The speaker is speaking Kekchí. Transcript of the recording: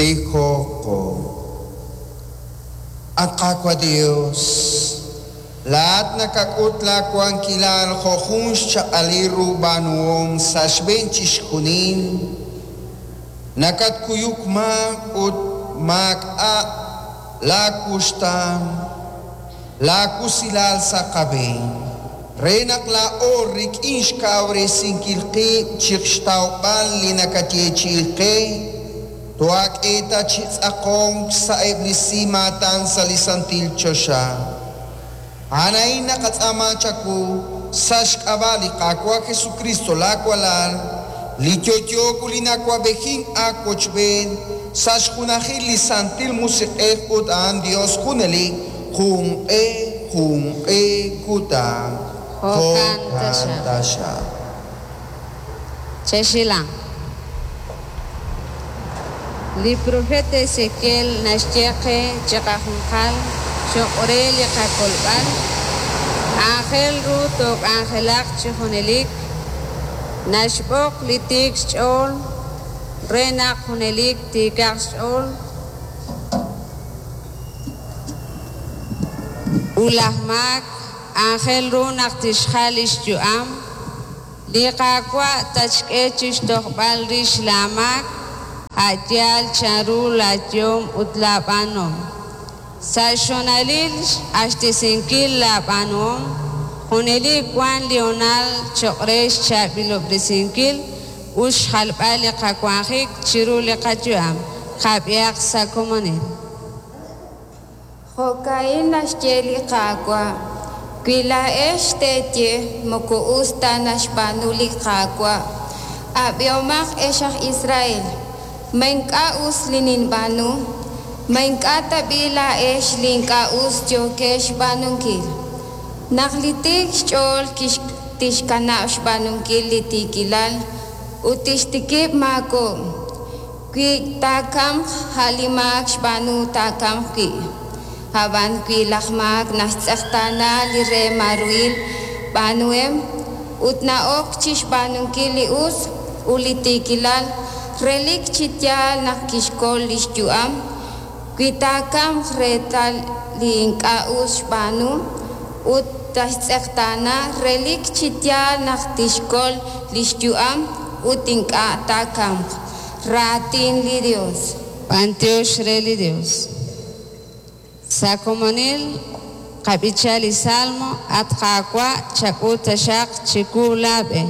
Tijoqo. At Qaawa' Dios, laa'at nakak'ut laawankilal jo' jun xchaq'alil ru b'aanuhom sa' xb'een chixjunil, nakatkuyuk maak ut maak'a' laawuxtaan, laawusilal sa' qab'een, re naq laa'o rik'in xkawresinkil qib' chi xtawb'al li nakayeechi'i qe, tohaak'e ta chi tz'aqonk sa'eb' li simaatan sa' li santil choxa. A'an a'in naqatz'aama chawu sa' xk'ab'a' li Qaawa' Jesukristo laawalal, li yo'yo ut li na'awab'ejink aawochb'een sa' xjunajil li Santil Musiq'ej ut a'an Dios junelik junq'e junq'e kutan. Jo'kan Jo'kan taxaq. Chexilan. Li profeta Ezequiel naxye qe chiqajunqal cho'q re li qakolb'al, aajel ru took'anjelaq chi junelik, naxb'oq li tiik xch'ool re naq junelik tiikaq xch'ool, ut laj maak aajel ru naq tixjal li xyu'am, li Qaawa' tatxk'e chi xtojb'al rix laamaak, a' yaal chanru laayehom ut laab'aanuhom. Sa' xhoonalil xq'axtesinkil laab'aanuhom, junelik wank li hoonal cho'q re xchaab'ilob'resinkil ut xjalb'al li qawanjik chiru li qayu'am. Qab'ihaq sa' komonil. Jo'ka'in naxye li Qaawa': Wi laa'ex teeye, Moko us ta naxb'aanu li Qaawa', ab'ihomaq, ex aj Israel: Ma ink'a' us li ninb'aanu? Ma ink'a' tab'i' laa'ex li ink'a' us yookex xb'aanunkil? Naq li tiik xch'ool tixkanab' xb'aanunkil li tiikilal ut tixtikib' maakob'k, wi taakamq, a' li maak xb'aanu taakamq wi'. Ab'an wi laj maak naxtz'eqtaana li reemaaruhil b'aanuhem ut na'ok chi xb'aanunkil li us ut li tiikilal, relik chi yaal naq kixkol li xyu'am, wi taakamq reetal li ink'a' us xb'aanu ut taxtz'eqtaana, relik chi yaal naq tixkol li xyu'am ut ink'a' taakamq. Raatin li Yos. B'antiox re li Dios. Sa' komonil qab'icha li Salmo, at Qaawa' chak'ut taxaq chiwu laab'e.